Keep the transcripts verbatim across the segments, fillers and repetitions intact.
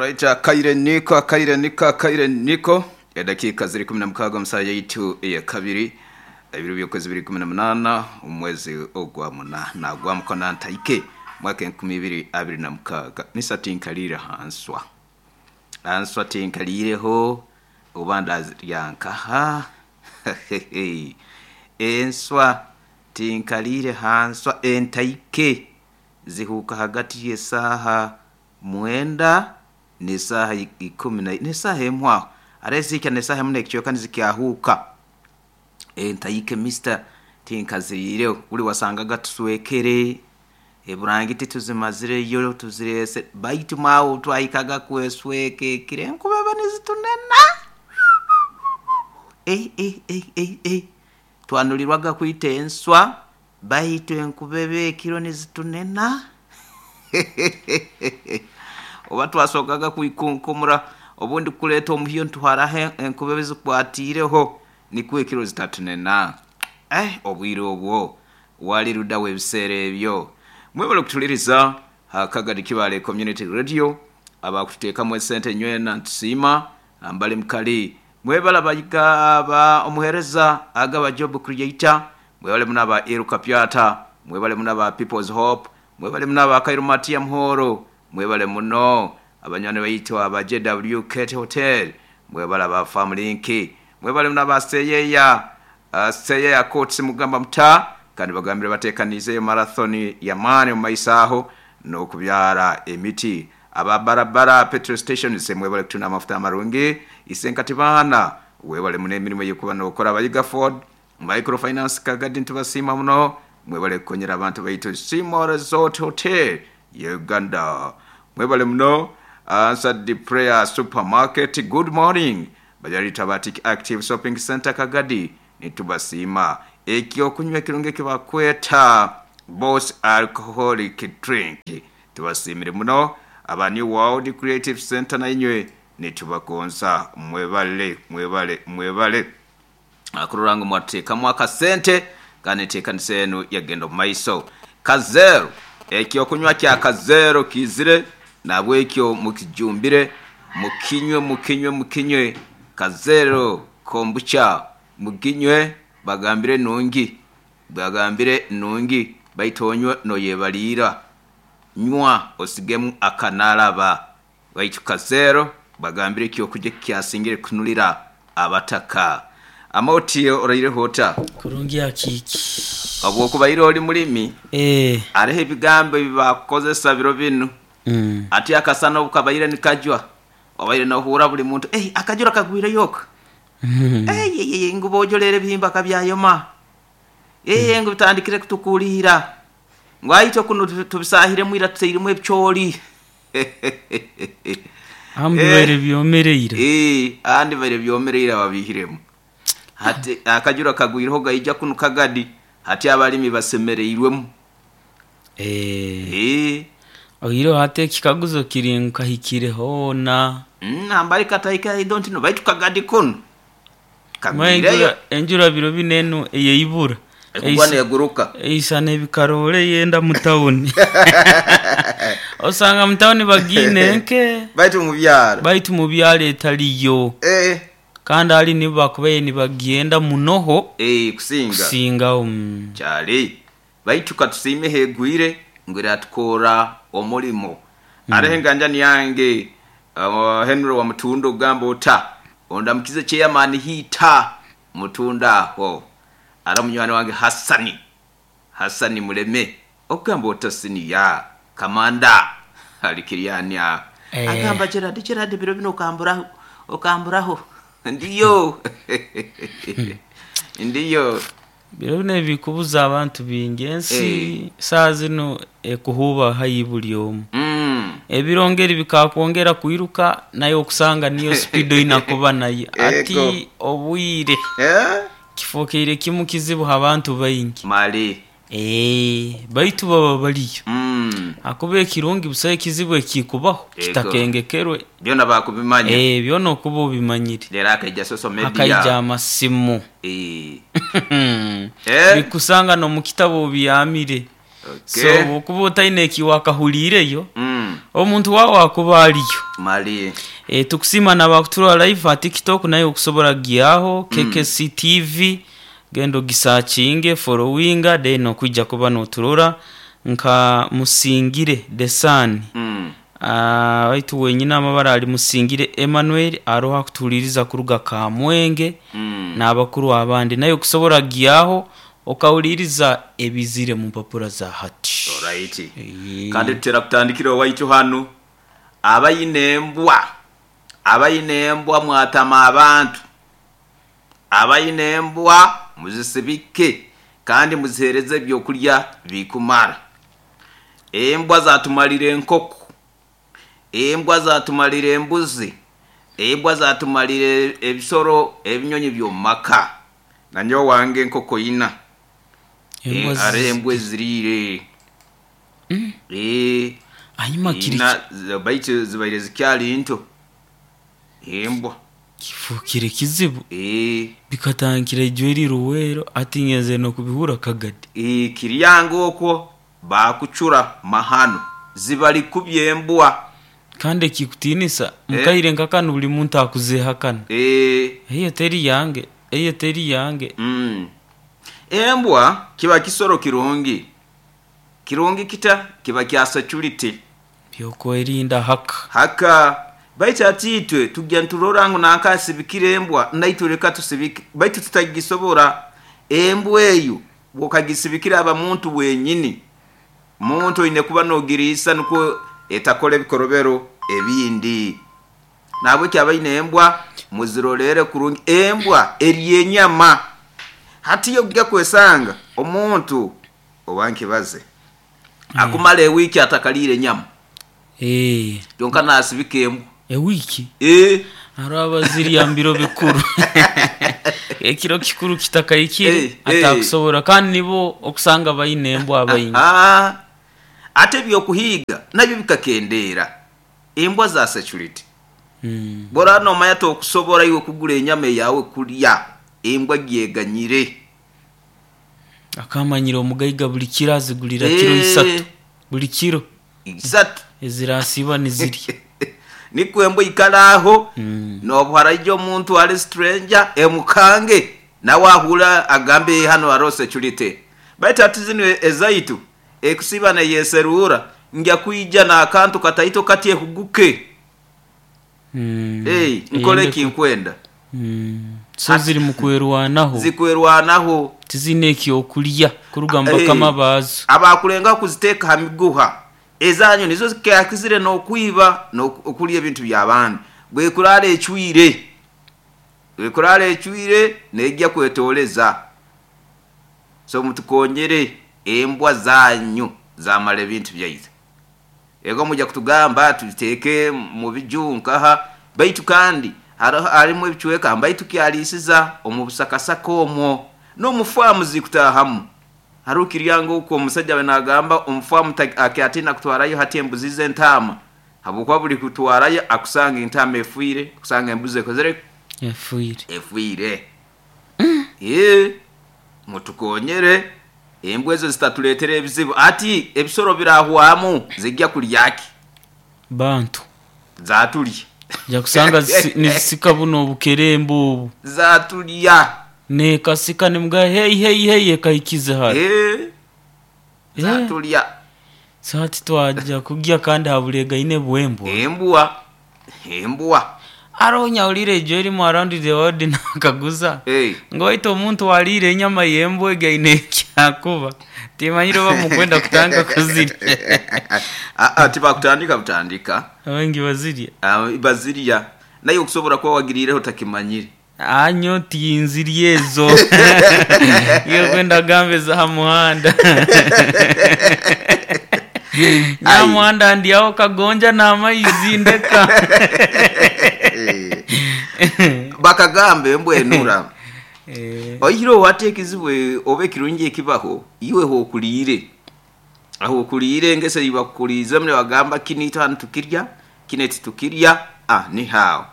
Alright, akaire niko akaire niko akaire niko edakika ziri kumi na mukaaga musaha yaitu eyakabiri ebiro by'okwezi biri kumi na munaana omwezi ogwa munaana gwa mukona ntaike mwaka enkumi ibiri abiri na mukaaga. Misa tinkaliire hanswa hanswa tinkaliireho oba ndazirya nkaha enswa tinkaliire hanswa entaike zihuuka hagati y'esaaha mwenda n'esaaha ikumi na n'esaaha emu aho hare zihika n'esaaha emu n'ekicweka nizikyahuuka. Entaike mister tinkaziriireho buri wasangaga tuswekere eburangiti tuzimazireyo tuzireese baitu maawe twahikaga kwesweka ekiro enkuba eba nizitunena eh, eh, eh, eh, eh. Twanulirwaga kwita enswa baitu enkuba eba ekiro nizitunena oba twasokaga kwikunkumura obundi kuleeta omuhyo nituharaho enkuba ezikwatiireho nikwo ekiro zitatunena. Eh, obwire obwo wali luddawa ebiseera ebyo? Mwebale okutuliriza Akagadi Kibale Community Radio abakututeekamu esente nywena ntusiima ambali mukali mwebale abayiga aba omuheereza agaba job creator mwebale muno aba Iruka Pyata mwebale muno aba People's Hope mwebale muno aba Kairu Matia Muhoro mwebale muno abanywani baitu aba J W Kate Hotel mwebale aba Farm Link mwebale muno aba Seyeya uh, Seyeya Courts mugamba muta kandi bagambire bateekaniizeyo marathon ya maani omu maiso aho n'okubyara emiti aba barabara petrol stations mwebale kutunda amafuta amarungi isenkati baana webale muno emirimu ey'okuba n'okora abayiga Ford Microfinance Kagadi ntubasiima muno mwebale kukonyera abantu baitu Simo Resort Hotel ya Uganda mwebale muno Answered Prayer Supermarket good morning Bajarita Batik Active Shopping Center Kagadi nitubasiima ekyokunywa ekirungi ekibakweta Boss Alcoholic Drink tubasiimire muno aba New World Creative Center nainywe nitubagonza mwebale mwebale mwebale akurora ngu mwateekamu akasente kandi enteekanisa enu yagenda omu maiso. Kazero ekyokunywa kya Kazero kiizire nabwekyo mukijumbire mukinywe mukinywe mukinywe Kazero kombucha muginywe bagambire nungi bagambire nungi baitu onywe noyebaliira nywa osigemu akanaraba baitu Kazero bagambire ekyokurya kyasingire kunulira abataka. Amauti oraireho ota kurungi akiki obwokubaire oli mulimi eh areho ebigambo ebibakukozesa biro binu mm. ati akasana obukabaire nikajwa obaire nohura buli muntu eh akajura kagwire yoka Mm. eh ye, ye, ngu bojolere ebihimba kabyayoma eh ngu bitandikire kutukulira ngu aitwe kuno tubisahiremu ira tuteiremu ebicooli Ahambi baire byomereire eh andi baire byomereire babihiremu hati akajura kagwireho gaija kuno Kagadi hati abalimi basemereirwemu eh eh oiro hati ekikaguzo kiri nkahikire hoona mm, ambali kataika I don't know baitu Kagadi kuno Mwa kagwireyo enjura enjura biro binenu eyeibura ekugwa neguruka eisana ebikarole yenda mutawuni osanga mutawuni bagine nke baitu mubyaro baitu mubyalo etaliyo eh kandi ali nibo bakubaye nibagenda munoho eh kusinga kusinga um, kyali baitu katusiime hegwire ngu eratukora omulimo mm. areho enganjani yange uh, Henry wa Mutunda ogamba ota ondamukize chairman hiita Mutunda aho ara munywani wange Hassani Hassani Muleme ogamba ota siniya kamanda alikiriani aho Eh. agamba Gerard Gerard biro bino okamburaho okamburaho ndiyo ndiyo biro bino ebikubuza abantu bingi ensi saa zino ekuhuba hayi buli omu mm. ebirongeri bikakwongera kwiruka naye okusanga niyo speed oyina nayo ati obwire eh? kifokeire kimu kizibu abantu baingi mali eh baitu baba baliyo mm. akuba ekirungi busayo ekizibu ekikubaho Ego. kitakengekerwe byona bakubimanya eh byona okuba obimanyire leero akaija social media akaija amasimu eh. Eh? bikusanga nomukitabo obiyamire Okay. so okuba otaine ekiwakahuliireyo mm. Omuntu wawe akuba aliyo. Mali. E, tukusima nabakuturora live ha TikTok, naye okusobora gyaho K K C T V, genda ogisakinge, followinga, then okwijja kuba noturora nka Musingire Desani. Mm. Ah, waitu wenyina amabara ali Musingire Emmanuel aroha kutuliriza kuruga Kamwenge Mm. n'abakuru abandi, naye okusobora gyaho okawuliriza ebizire mu mpapura za hati. Alright. E. Kandi tutera kutandikira owaitu hano abayina embwa, abayina embwa mwatama abantu, abayina embwa muzisibike kandi muzihereze ebyokulya bikumara. Embwa zatumalira enkoko, embwa zatumalira embuzi, embwa zatumalira ebisoro ebinyonyi by'omumaka. Nanyo wange enkoko ina. Embwa Eh, are zi- embwa eziriire. Mm. Eh, Hanyuma kiri ina, zi-, baitu zibaire zikyali nto. Embwa. Kifukire kizibu. Eh. Bikatangikira ijwe eri Ruwero, ati ngenze no kubihura Kagadi. Eh, kiryango okwo bakucura mahano zibali kubyembwa. Kandi ekikutinisa, Eh. mukaire nkakanu buli muntu akuzehakana. Eh. Eyo teri yange, eyo teri yange. Mm. Embwa kiba kisoro kirungi. Kirungi kita kiba kya security. Byokwerinda haka. Haka baitu atitwe tujya nturora ngo nankasibikire embwa naitwe tusibike baitu tutagisobora. Embwa eyo wokagisibikira aba muntu wenyini. Muntu ine kuba nogirisa nuko etakole bikorobero ebindi. Nabwe kyabaine embwa muzirolere kurungi. Embwa eri enyama. Hati yo kujya kwesanga omuntu owankibaze Mm. akumala ewiki atakalire enyama. Eh. Yonka nasibika embwa. Ewiki? Eh. Araba ziri ambiro bikuru. Ekiro kikuru kitakayikire, Eh, eh. atakusobora kandi nibo okusanga bayine embwa abayingi. Ah. Ate byokuhiga nabyo bikakendera. Embwa za security. Mm. Bora no maya to kusobora iwe kugula enyama yawe kulya. Embwa gyeganyire. Akamanyira omugaiga buli kiro azigulira Eh. kiro isatu. Buli kiro. Isatu. Ezirasiba nizirya. Niko embwa ikalaho. Mm. Nobuhara ijjo omuntu ali stranger emukange nawe ahura agambe hano haro security. Baitu ati zino ezaitu ekusiba na yeserura njya kuija na akantu kataito kati ekuguke. Mm. Hey, nkole Eyende kinkwenda. Mm. So ziri mu kwerwanaho. Zikwerwanaho. Tizine ekyokulya kuruga mu Eh, bakama baazo. Abakulenga kuziteeka ha miguha. Ezanyu nizo zikakizire n'okwiba n'okulya ebintu by'abandi. Bwekurara ecwire. Bwekurara ecwire nejja kwetoleza. So mutukonyere embwa zanyu zamala ebintu byaitu. Ego mujja kutugamba tubiteeke mu bijunkaha baitu kandi harimu ebicweka mbaitu kyalisiza omu busakasaka omwo n'omufaamu zikutahamu. Hariho kiryango okwo omusajja we nagamba omufaamu akyatina kutwarayo hati embuzi z'entaama. Habwokuba buli kutwarayo akusanga entaama efiire, akusanga embuzi ekozere efiire. Efiire. Mm. Eh, mutukonyere embwa ezo zitatuleetera ebizibu. Ati ebisoro birahwamu zijja kulyaki? Bantu. Zatulya. Ja kusanga zisi-, nizisika buno obukerembe obu. Zatulya. Nekasika nimuga hey hey hey ekaikize hali. Eh. Eh. Zatulya. Sati twajja kugya kandi habulega ine bwembwa. Embwa. Embwa. Aronya ulire ejo erimu around the world nakaguza. Hey. Ngoito omuntu walire enyama yembwa egaine ekyakuba. Timanyire oba mukwenda kutanga kuzirya. Ah, ah, tibakutandika butandika. Abengi bazirya. Ah, bazirya. Naye okusobola kuba wagirireho takimanyire. Anyo tinzirye ezo. Iyo kwenda gambe za muhanda. Nyamuhanda ndi aho kagonja n'amaizi ndeka. Bakagambe embwa enura. Eh. Oyiro wateekizibwe oba ekirungi ekibaho iwe hokuliire. Aho okuliire engese ibakuliiza mune bagamba kini hano tukirya, kine titukirya, ah ni hao.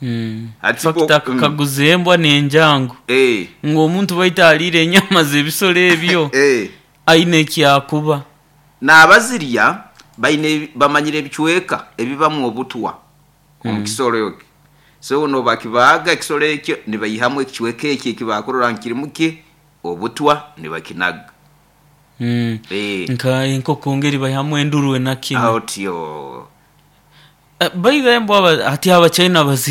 Mm. Ati Fakita bo, mm. kaguza embwa n'enjangu. Eh. Ng'omuntu baita aliire enyama z'ebisolo ebyo. Eh. Aine ekyakuba. N'abazirya Baine bamanyire ebicweka ebibamu obutwa omu kisoro ekyo, so nobakibaaga ekisoro ekyo, nibaihamu ekicweka ekyo ekibakurora ngu kirimu ki obutwa, nibakinaga. Mm. Eh, nka enkoko ngeri baihamu enduru enakino. Otyo. By the way, mbwa hati Abachina baziri.